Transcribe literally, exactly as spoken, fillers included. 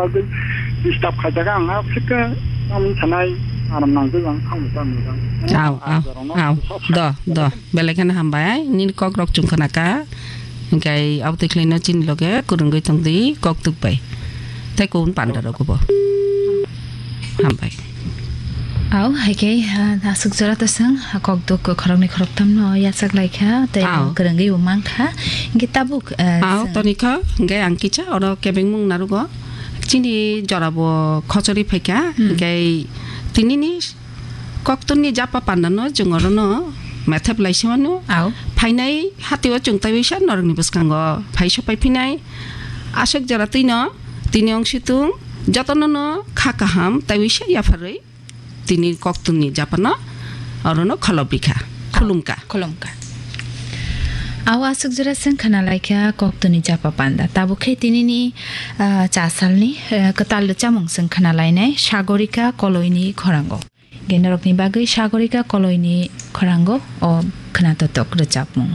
Bagwi disturb khaijak ang, ha, phikhe tamni sanai aram nangwi ang thangwi tangwi ang. Aw, aw, aw. Do, do. Belai kheno hambai. Nini kok rok chwng khna kha. Hinkhe abo twi khlaino chini loge kwrwngwi tongdi kok tuk bai. Tei kubun panda rok bo. Hambai. Aw, hai khe, ha, aswk jora to swng, ha, kok tuk khoroknwi khoroktham no yachak lai kha, tei Aw. kwrwngwi bo mang kha. Hinkhe tabuk, eh, Aw, swng. Toni kha, hinkhe ang kisa oro kebengmung narugo. Chini jora bo khochori phaikha, Hmm. hinkhe tinini koktwni japa pandano chwng orono methep lai simano. Aw. Phainai hatio chwng taiwi sa norokni bwskango phai sopai phinai. Aswk jora twino tini ongsitung jotono no kha kaham taiwi sa yapharwi tini koktwni japano orono kholobri kha, khulum kha. Khulum kha. Aw aswk jora swng khna lai kha koktwni japa panda. Tabuk khe tinini, ah, cha salni, eh, kwtal rwchapmung swng khna lainai Sagorika Koloini khorango. Hinkhe norokni bagwi Sagorika Koloini khorango o khna totok rwchapmung.